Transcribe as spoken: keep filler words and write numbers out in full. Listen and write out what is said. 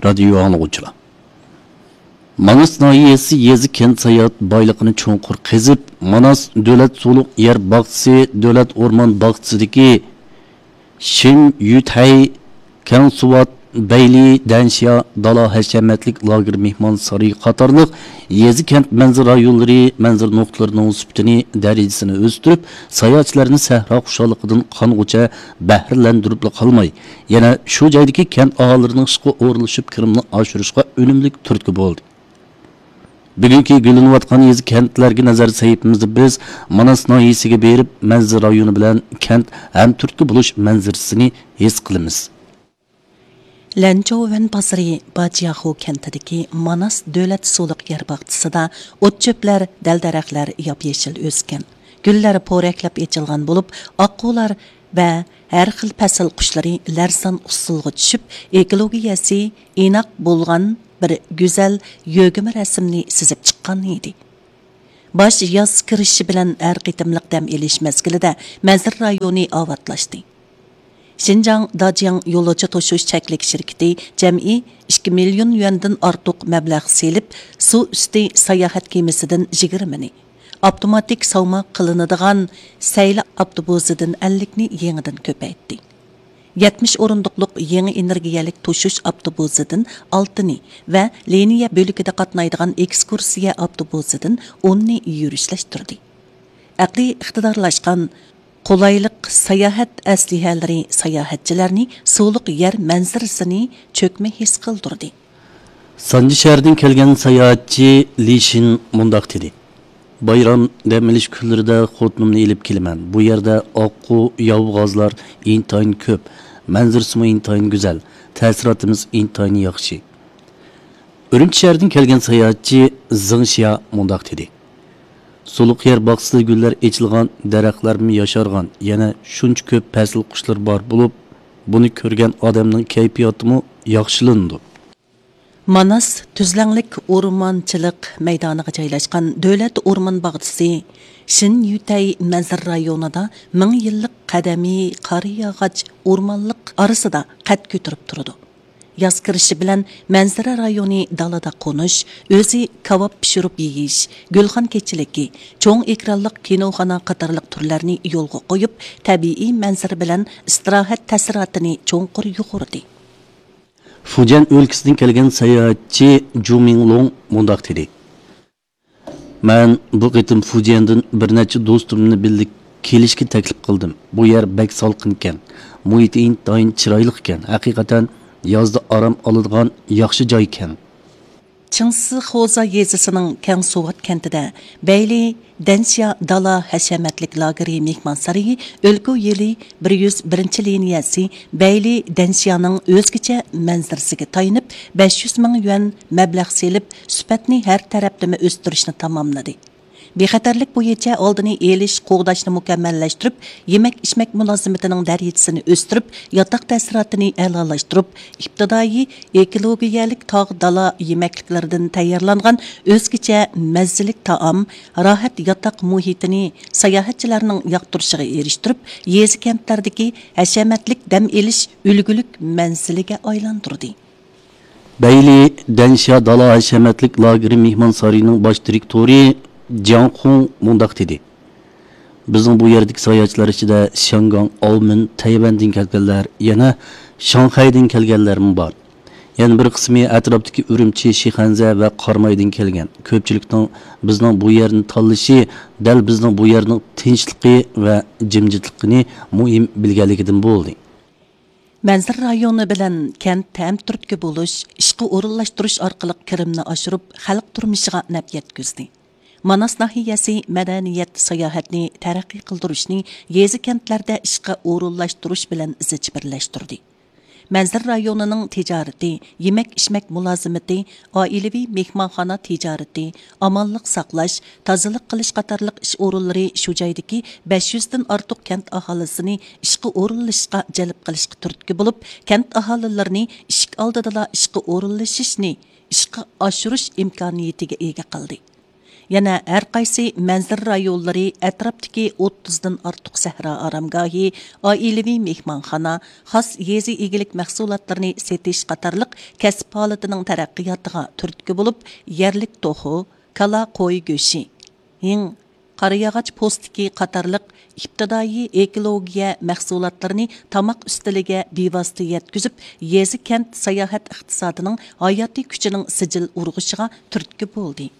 رادىيو ئاڭلىغۇچىلار. ماناس ناھىيەسى يېزا كەنت ساياھەت بايلىقىنى چوڭقۇر قېزىپ، ماناس دۆلەت سۇلۇق يەر باغچىسى، دۆلەت ئورمان باغچىسىدىكى شىن يۈتەي، كەڭسۇۋات، بەيلى، دەنشيا، دالا ھەشەمەتلىك لاگېر مېھمانسارىيى قاتارلىق يېزا كەنت مەنزىرە رايونلىرى مەنزىرە نۇقتىلىرىنىڭ سۈپىتىنى، دەرىجىسىنى ئۆستۈرۈپ، ساياھەتچىلەرنى سەھرا خۇشاللىقىدىن قانغۇچە بەھرىلەندۈرۈپلا قالماي، يەنە شۇ جايدىكى كەنت ئاھالىلىرىنىڭ ئىشقا ئورۇنلىشىپ كىرىمىنى ئاشۇرۇشىغا ئۈنۈملۈك تۈرتكە بولدى. بۈگۈنكى گۈللىنىۋاتقان يېزا كەنتلەرگە نەزەر سېلىپ بىز ماناس ناھىيەسىگە بېرىپ، مەنزىرە رايونى بىلەن كەنت ھەم تۈرتكە بولۇش مەنزىرىسىنى ھېس قىلىمىز. لەنچوۋەن بازىرى باجياخۇ كەنتىدىكى ماناس دۆلەت سۇلۇق يەر باغچىسىدا ئوت-چۆپلەر، دەل-دەرەخلەر ياپيېشىل ئۆسكەن. گۈللەر پورەكلەپ ئېچىلغان بولۇپ، ئاققۇلار ۋە ھەر خىل پەسىل قۇشلىرى لەرزان ئۇسسۇلغا چۈشۈپ، ئېكولوگىيەسى ئىناق بولغان بىر گۈزەل يۆگىمە رەسىمنى سىزىپ چىققان ئىدى. باش ياز كىرىشى بىلەن ھەر قېتىملىق دەم ئېلىش مەزگىلىدە مەنزىرە رايونى ئاۋاتلاشتى. شىنجاڭ داجياڭ يولۇچى توشۇش چەكلىك شىركىتى جەمئىي ئىككى مىليون يۈەندىن ئارتۇق مەبلەغ سېلىپ، سۇ ئۈستى ساياھەت كېمىسىدىن يىگىرمىنى، ئاپتوماتىك ساۋما قىلىنىدىغان سەيلە ئاپتوبۇسىدىن ئەللىكنى يېڭىدىن كۆپەيتتى. يەتمىش ئورۇندۇقلۇق يېڭى ئېنېرگىيەلىك توشۇش ئاپتوبۇسىدىن ئالتىنى ۋە لىنىيە بۆلىكىدە قاتنايدىغان ئېكسكۇرسىيە ئاپتوبۇسىدىن ئوننى يۈرۈشلەشتۈردى. ئەقلىي ئىقتىدارلاشقان، قولايلىق ساياھەت ئەسلىھەلىرى ساياھەتچىلەرنى سۇلۇق يەر مەنزىرىسىنى چۆكمە ھېس قىلدۇردى. سانجى شەھىرىدىن كەلگەن ساياھەتچى لى شىن مۇنداق دېدى: بايرام دەم ئېلىش كۈنلىرىدە خوتۇنۇمنى ئېلىپ كېلىمەن. بۇ يەردە ئاققۇ، ياۋغازلار ئىنتايىن كۆپ، مەنزىرىسىمۇ ئىنتايىن گۈزەل، تەسىراتىمىز ئىنتايىن ياخشى. ئۈرۈمچى شەھىرىدىن كەلگەن ساياھەتچى زېڭ شيا مۇنداق دېدى: سۇلۇق يەر باغچىسىدا گۈللەر ئېچىلغان، دەرەخلەرمۇ ياشارغان، يەنە شۇنچە كۆپ پەسىل قۇشلىرى بار بولۇپ، بۇنى كۆرگەن ئادەمنىڭ كەيپىياتىمۇ ياخشىلىنىدۇ. ماناس تۈزلەڭلىك ئورمانچىلىق مەيدانىغا جايلاشقان دۆلەت ئورمان باغچىسى شىن يۈتەي مەنزىرە رايونىدا مىڭ يىللىق قەدىمىي قارىياغاچ ئورمانلىق ئارىسىدا قەد كۆتۈرۈپ تۇرىدۇ. ياز كىرىشى بىلەن مەنزىرە رايونى دالادا قونۇش، ئۆزى كاۋاپ پىشۇرۇپ يېيىش، گۈلخان كېچىلىكى، چوڭ ئېكرانلىق كىنوخانا قاتارلىق تۈرلەرنى يولغا قويۇپ، تەبىئىي مەنزىرە بىلەن ئىستىراھەت تەسىراتىنى چوڭقۇر يۇغۇردى. فۇجيەن ئۆلكىسىدىن كەلگەن ساياھەتچى جۇ مىڭلۇڭ مۇنداق دېدى: مەن بۇ قېتىم فۇجيەندىن بىر نەچچە دوستۇمنى بىللە كېلىشكە تەكلىپ قىلدىم. بۇ يەر بەك سالقىنكەن، مۇھىتى ئىنتايىن چىرايلىقكەن، ھەقىقەتەن يازدا ئارام ئالىدىغان ياخشى جايكەن. چىڭسىخوزا يېزىسىنىڭ كەڭسۇۋات كەنتىدە بەيلى دەنشيا دالا ھەشەمەتلىك لاگېرى مېھمانسارىيى ئۆلكە يىلى بىر يۈز بىرىنچى لىنىيەسى بەيلى دەنشيانىڭ ئۆزگىچە مەنزىرىسىگە تايىنىپ، بەش يۈز مىڭ يۈەن مەبلەغ سېلىپ، سۈپەتنى ھەر تەرەپلىمە ئۆستۈرۈشنى تاماملىدى. بىخەتەرلىك بويىچە ئالدىنى ئېلىش، قوغداشنى مۇكەممەللەشتۈرۈپ، يېمەك-ئىچمەك مۇلازىمىتىنىڭ دەرىجىسىنى ئۆستۈرۈپ، ياتاق تەسىراتىنى ئەلالاشتۇرۇپ، ئىپتىدائىي ئېكولوگىيەلىك تاغ دالا يېمەكلىكلىرىدىن تەييارلانغان ئۆزگىچە مەززىلىك تائام، راھەت ياتاق مۇھىتىنى ساياھەتچىلەرنىڭ ياقتۇرۇشىغا ئېرىشتۈرۈپ، يېزا كەنتلەردىكى ھەشەمەتلىك دەم ئېلىش ئۈلگىلىك مەنزىلىگە ئايلاندۇردى. بەيلى دەنشيا دالا ھەشەمەتلىك لاگېرى مېھمانسارىيىنىڭ باش دىرېكتورى جياڭ خۇڭ مۇنداق دېدى: بىزنىڭ بۇ يەردىكى ساياھەتچىلەر ئىچىدە شياڭگاڭ، ئاۋمېن، تەيۋەندىن كەلگەنلەر، يەنە شاڭخەيدىن كەلگەنلەرمۇ بار. يەنە بىر قىسمى ئەتراپتىكى ئۈرۈمچى، شىخەنزە ۋە قارامايدىن كەلگەن. كۆپچىلىكنىڭ بىزنىڭ بۇ يەرنى تاللىشى دەل بىزنىڭ بۇ يەرنىڭ تىنچلىقى ۋە جىمجىتلىقىنى مۇھىم بىلگەنلىكىدىن بولدى. مەنزىرە رايونى بىلەن كەنت ھەم تۈرتكە بولۇش، ئىشقا ئورۇنلاشتۇرۇش ئارقىلىق كىرىمنى ئاشۇرۇپ، خەلق تۇرمۇشىغا نەپ يەتكۈزدى. ماناس ناھىيەسى مەدەنىيەت، ساياھەتنى تەرەققىي قىلدۇرۇشنى يېزا، كەنتلەردە ئىشقا ئورۇنلاشتۇرۇش بىلەن زىچ بىرلەشتۈردى. مەنزىرە رايونىنىڭ تىجارىتى، يېمەك-ئىچمەك مۇلازىمىتى، ئائىلىۋى مېھمانخانا تىجارىتى، ئامانلىق ساقلاش، تازىلىق قىلىش قاتارلىق ئىش ئورۇنلىرى شۇ جايدىكى بەش يۈزدىن ئارتۇق كەنت ئاھالىسىنى ئىشقا ئورۇنلىشىشقا جەلپ قىلىشقا تۈرتكە بولۇپ، كەنت ئاھالىلىرىنى ئىشىك ئالدىدىلا ئىشقا ئورۇنلىشىشنى ئىشقا ئاشۇرۇش ئىمكانىيىتىگە ئىگە قىلدى. يەنە ھەر قايسى مەنزىرە رايونلىرى، ئەتراپتىكى ئوتتۇزدىن ئارتۇق سەھرا ئارامگاھى، ئائىلىۋى مېھمانخانا، خاس يېزا ئىگىلىك مەھسۇلاتلىرىنى سېتىش قاتارلىق كەسىپ ھالىتىنىڭ تەرەققىياتىغا تۈرتكە بولۇپ، يەرلىك توخۇ، كالا، قوي گۆشى، ھىڭ، قارىياغاچ پوستىكى قاتارلىق ئىپتىدائىي ئېكولوگىيە مەھسۇلاتلىرىنى تاماق ئۈستىلىگە بىۋاسىتە يەتكۈزۈپ، يېزا، كەنت ساياھەت ئىقتىسادىنىڭ ھاياتىي كۈچىنىڭ سىجىل ئۇرغۇشىغا تۈرتكە بولدى.